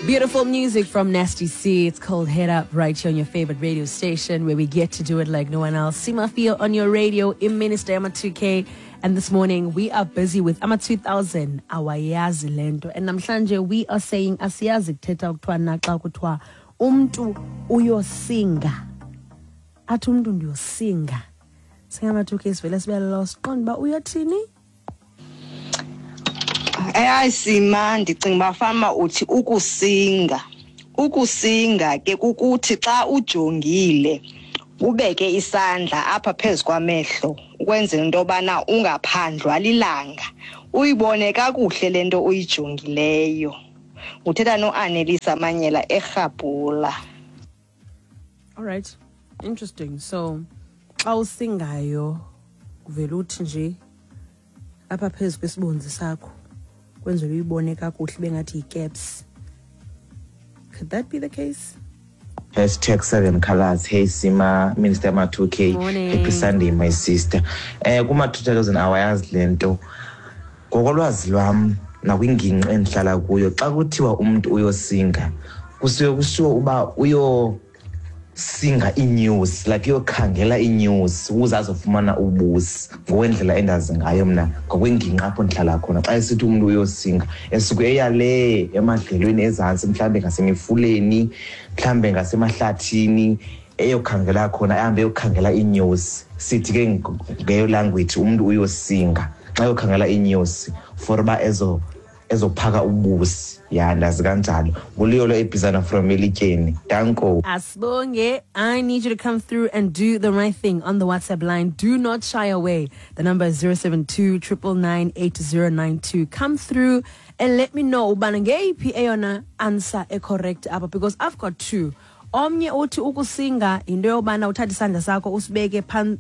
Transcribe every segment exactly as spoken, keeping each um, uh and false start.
Beautiful music from Nasty C. It's called Head Up right here on your favorite radio station where we get to do it like no one else. Simafia on your radio in Minister Ama two K. And this morning we are busy with Ama two thousand, awayazi lento. And namhlanje we are saying asiyazi kuthetha kuthiwa naxa kuthiwa umntu uyosinga. Athi umntu ndiyosinga. Singama two K sivele sibe lost. Qonda uba uyothini? Hayi Sima, ndicinga uba fama uthi ukusinga. Ukusinga ke kukuthi xa ujongile ubeke isandla apha phezu kwamehlo ukwenzela into yobana ungaphandlwa lilanga, uyibone kakuhle le nto uyijongileyo. Uthetha noAnelisa Manyela eRhabhula. All right, interesting. So xa usingayo kuvela uthi nje apha phezu kwesibunzi sakho kwenzela uyibone kakuhle bengathi yi-caps. Could that be the case? Hashtag seven colors. Hey Sima, Minister Ma two K. Morning. Happy Sunday, my sister. Eh, kuma two thousand awayazi lento. Ngokolwazi lwam nakwingingqi endihlala kuyo, xa kuthiwa umntu uyosinga, kusuke kushiwo uba uyosinga i-news, like uyokhangela i-news ukuze azofumana ubusi. Ngokwendlela endazi ngayo mna ngokwengingqi apho ndihlala khona, xa esithi umntu uyosinga esuke eya le emadlelweni ezantsi, mhlawumbe ngasemifuleni, mhlawumbe ngasemahlathini, eyokhangela khona, ahambe eyokhangela i-news. Sithi ke ngeyo language umntu uyosinga xa eyokhangela i-news for uba ezo ezophaka ubusi. Ya, ndazi kanjalo. Nguluyolo ebhizana from Elityeni. Danko. Asibonge, I need you to come through and do the right thing on the WhatsApp line. Do not shy away. The number is zero seven two, triple nine, eight zero nine two. Come through and let me know ubana ngeyiphi eyona answer e-correct apha, because I've got two. Omnye uthi ukusinga into yobana uthathe isandla sakho usibeke phan-,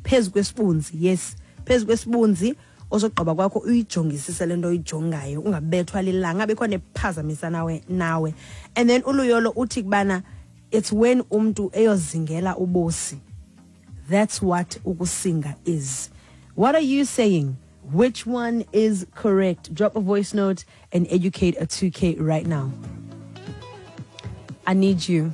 phezu kwesibunzi. Yes, phezu kwesibunzi. Osogqiba kwakho uyijongisise le nto uyijongayo, ungabethwa lilanga, ngabikho nephazamisa nawe, nawe. And then uLuyolo uthi kubana it's when umntu eyozingela ubusi. That's what ukusinga is. What are you saying? Which one is correct? Drop a voice note and educate a two K right now. I need you.